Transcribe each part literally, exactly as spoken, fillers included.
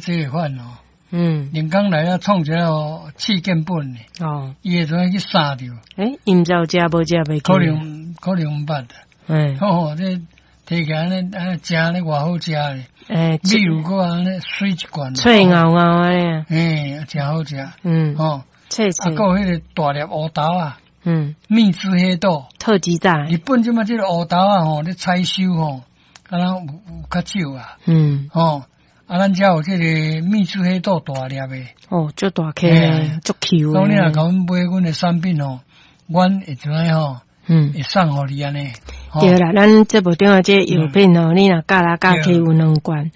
這會款哦。嗯。人工來了創一個試見本的。哦。伊會怎去殺著？欸，伊毋知有食無食袂記。可能可能毋捌。嗯。吼，這提起來按呢按呢食呢偌好食咧。欸，米有閣按呢媠一罐。脆咬咬按呢。嘿，誠好食。嗯。吼。脆脆。啊，閣有彼個大粒烏豆仔。嗯。秘製黑豆。特級大。日本這擺這個烏豆仔吼，咧採收吼，敢若有有較少啊。嗯。吼，啊，咱遮有這個秘製黑豆大粒的。哦，足大顆，足 Q 的。所以你若共阮買阮的產品吼，阮會怎樣吼？嗯。會送予你按呢。對啦，咱節目中的這個藥品吼，你若加來加去有兩罐，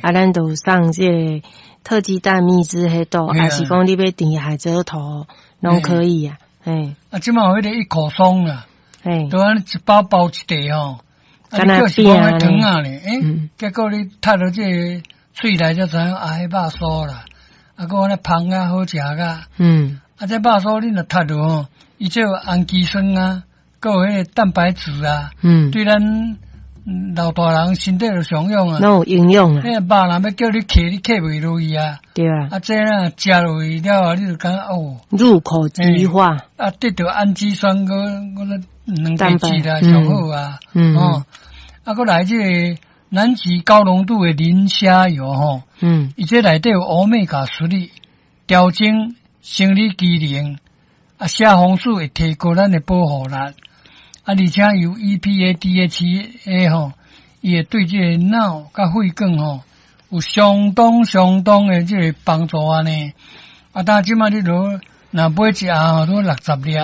啊，咱就送這個特級大秘製黑豆，還是講你欲甜海蜇頭，攏可以啊。嘿。啊，這擺有彼個一口鬆啦，嘿，就按呢一包包一袋吼，啊，你叫是講彼糖仔咧，欸，結果你啜落這個喙內才知影啊，彼肉酥啦，啊，閣按呢芳啊好食甲，嗯，啊，這肉酥你若啜落吼，伊這有氨基酸啊，閣有彼個蛋白質啊，嗯，對咱老大人身體就上用啊，攏有營養啊。彼個肉若欲叫你嗑，你嗑袂落去啊。對啊。啊，這若食落去了後，你就感覺哦，入口即化。啊，得著氨基酸，閣閣蛋白質啦，上好啊。嗯。哦，啊，閣來這個南極高濃度的磷蝦油吼，嗯，伊這內底有歐米伽十二，調整生理機能，啊，蝦紅素會提高咱的保護力。啊，而且有 E P A、D H A 吼，伊會對這個腦佮血管吼有相當相當的這個幫助按呢。啊，但這擺你若若買一盒吼，都六十粒，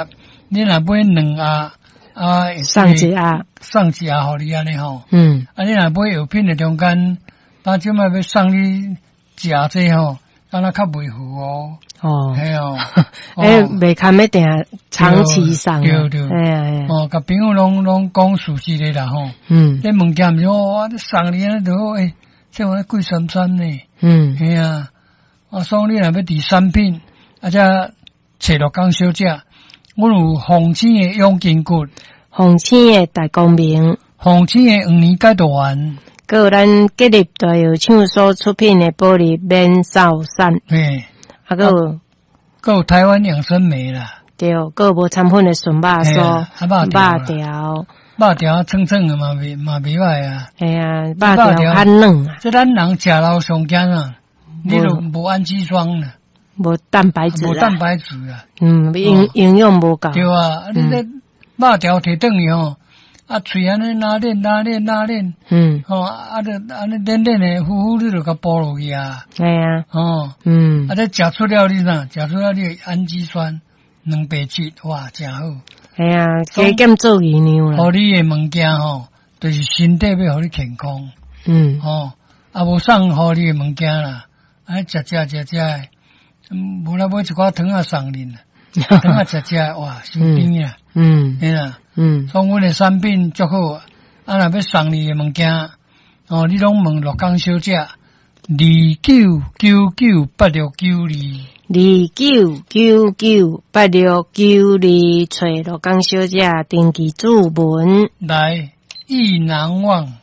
你若買兩盒，啊，送一盒，送一盒予你按呢吼。嗯。啊，你若買藥品的中間，但這擺欲送你一盒這吼，敢若較袂赴哦。哦，嘿哦，欸，袂堪欲定長期送，對對，嘿啊嘿啊。哦，共朋友攏攏講事實的啦吼。嗯。這物件毋是我送你按呢就好，欸，這玩意貴參參呢。嗯。嘿啊，啊，所以你若欲佇產品，啊，這揣鹿港小姐，阮有鳳青的養筋骨，鳳青的大光明，鳳青的黃連解毒丸，閣有咱吉立大藥廠所出品的保利免瘦散。嘿。啊，閣有，閣有台灣養生酶啦，對，閣有無摻粉的純肉酥，肉條，肉條脆脆的嘛袂嘛袂䆀啊。嘿啊，肉條較軟啊。這咱人食老上驚啊，你都無氨基酸啦，無蛋白質，無蛋白質啊。嗯，營營養無夠。對啊，你這肉條提轉去吼，啊，喙按呢拉鏈拉鏈拉鏈，嗯，吼，啊，就按呢軟軟的，呼呼，你就共哺落去啊。嘿啊，吼，嗯，啊，這食出了你哪，食出了你的氨基酸、蛋白質，哇，誠好。嘿啊，加減做營養啦。予你的物件吼，就是身體欲予你健康。嗯，吼，啊，無送予你的物件啦，啊，食食食食的，無啦買一寡糖仔送恁，糖仔食食，哇，傷甜啊。嗯，嘿啦。嗯，所以阮的產品足好，啊，若欲送你的物件，哦，你攏問鹿港小姐，二九九九八六九二，二九九九八六九二，揣鹿港小姐登記註文。來，意難忘。